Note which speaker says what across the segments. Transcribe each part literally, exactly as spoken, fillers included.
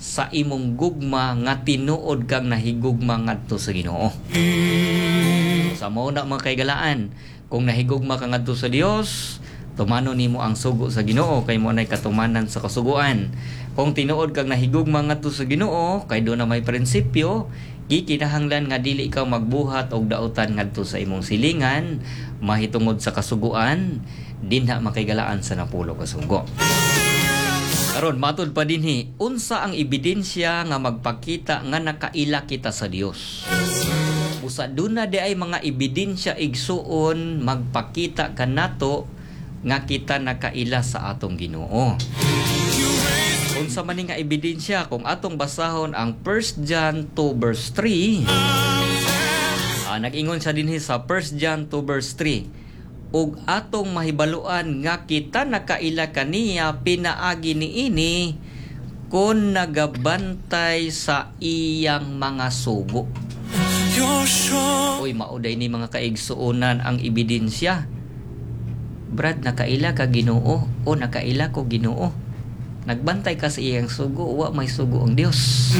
Speaker 1: sa imong gugma nga tinuod kang nahigugma ngadto sa Ginoo. Sa mao na, mga kaigalaan, kung nahigugma ka ngadto sa Dios, tumanon nimo ang sugo sa Ginoo kay mao nay katumanan sa kasuguan. Kung tinuod kang nahigugma ngadto sa Ginoo, kay duna may prinsipyo, gikinahanglan nga dili ikaw magbuhat og dautan ngadto sa imong silingan mahitungod sa kasuguan dinha, makaigalaan, sa napulo ka sugo. Karon, matud pa dinhi, unsa ang ebidensya nga magpakita nga nakaila kita sa Dios? Busa duna di ay mga ebidensya, igsuon, magpakita kanato nga kita nakaila sa atong Ginoo. Unsa man ni nga ebidensya? Kung atong basahon ang First John two verse three, ah, nag-ingon siya dinhi sa First John two verse three, "Ug atong mahibaluan nga kita nakaila kaniya pinaagi niini kon nagabantay sa iyang mga sugo." Uy, mao day ni, mga kaigsuonan, ang ebidensya. Brad, nakaila ka Ginoo o nakaila ko Ginoo. Nagbantay ka sa iyang sugo, wa may sugo ang Dios.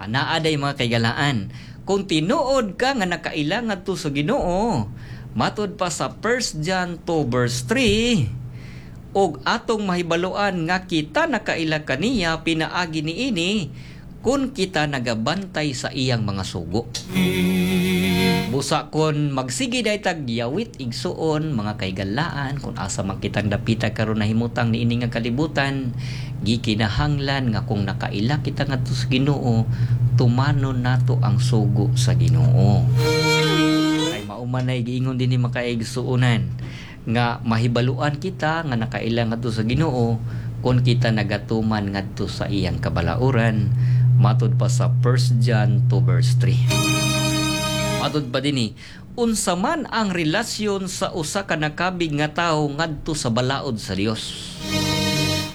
Speaker 1: Anaa day, mga kaigalaan. Kung tinuod ka nga nakaila ngadto sa Ginoo, matud pa sa First John two verse three, "Ug atong mahibaluan nga kita nakaila kaniya pinaagi niini kung kita nagabantay sa iyang mga sugo." Busa kon magsige day tag yawit, igsuon, mga kaigalaan, kung asa man kitang dapita karon nahimutang niini nga kalibutan, gikinahanglan nga kung nakaila kita ngadto sa Ginoo, tumanon nato ang sugo sa Ginoo. Kay mao man ay giingon dinhi, mga kaigsuonan, nga mahibaluan kita nga nakaila ngadto sa Ginoo kung kita nagatuman ngadto sa iyang kabalauran, matud pa sa First John two verse three. Matud pa dinhi, unsa man ang relasyon sa usa ka nakabig nga tawo ngadto sa balaod sa Dios?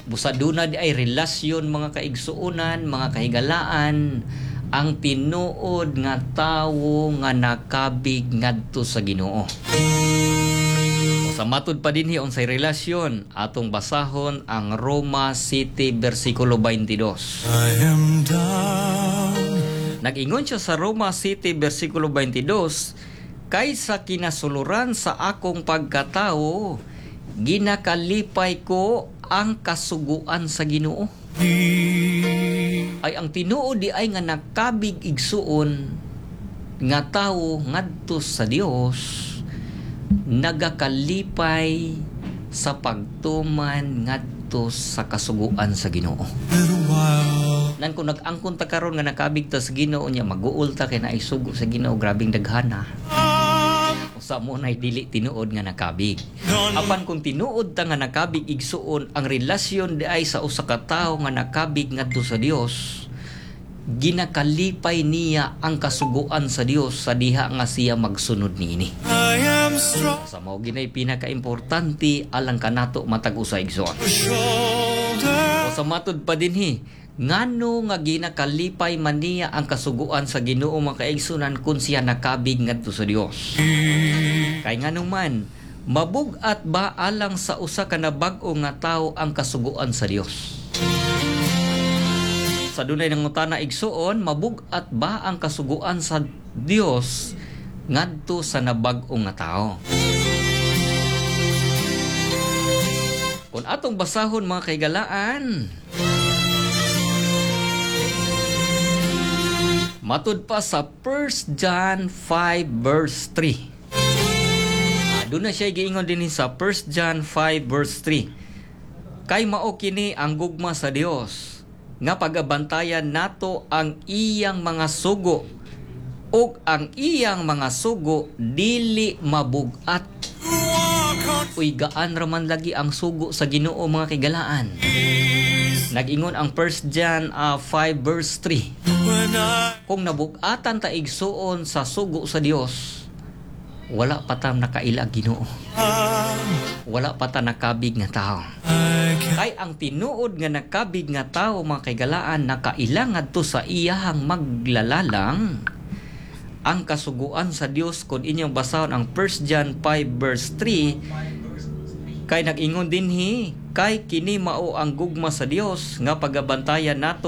Speaker 1: Busa duna di ay relasyon, mga kaigsuonan, mga kahigalaan, ang tinuod nga tawo nga nakabig ngadto sa Ginoo. Sa matud pa dinhi, unsay relasyon? Atong basahon ang Roma seven versikulo twenty-two.
Speaker 2: I am down.
Speaker 1: Nag-ingon siya sa Roma seven versikulo twenty-two, "Kay sa kinasuluran sa akong pagkatao, ginakalipay ko ang kasuguan sa Ginoo." Ay, ang tinuod di ay nga nakabig, igsuon, nga tawo ngadto sa Dios, nagakalipay sa pagtuman ngadto sa kasuguan sa Ginoo.
Speaker 2: Little while.
Speaker 1: Nan kung nag-angkon ta karon nga nakabig ta sa Ginoo niya, maguol ta kay naay sugo sa Ginoo, grabing daghana. Usa mo nay dili tinuod nga nakabig. Apan kung tinuod ta nga nakabig, igsuon, ang relasyon di ay sa usa ka tawo nga nakabig ngadto sa Dios, ginakalipay niya ang kasuguan sa Dios sa diha nga siya magsunod niini.
Speaker 2: I am strong.
Speaker 1: Sa mao ginay pinakaimportante alang kanato matag usa, igsoon.
Speaker 2: Shoulder.
Speaker 1: O sa matud pa dinhi, ngano nga ginakalipay man niya ang kasuguan sa Ginoo, mga kaigsunan, kung siya nakabig ngadto sa Dios? Kay ngano man, mabug-at ba alang sa usa ka nabag-o nga tawo ang kasuguan sa Dios? Sa dunay nangutana, igsuon, mabug-at ba ang kasuguan sa Dios ngadto sa nabag-o nga tao? Kung atong basahon, mga kaigalaan, matud pa sa First John five verse three. Ah, doon na siya giingon din sa First John five verse three. "Kay mao kini ang gugma sa Dios nga pagabantayan nato ang iyang mga sugo, ug ang iyang mga sugo dili mabug-at." Uy, gaan raman lagi ang sugo sa Ginoo, mga kaigalaan. Nag-ingon ang First John uh, five verse three.
Speaker 2: When I
Speaker 1: Kung nabug-atan ta, igsuon, sa sugo sa Dios, wala pa ta nakaila Ginoo. Wala pa ta nakabig nga tao.
Speaker 2: I can
Speaker 1: Kay ang tinuod nga nakabig nga tao, mga kaigalaan, nakaila ngadto sa iyahang maglalalang ang kasuguan sa Dios kung inyong basahon ang First John five verse three, kay nag-ingon dinhi, "Kay kini mao ang gugma sa Dios nga pagabantayan nato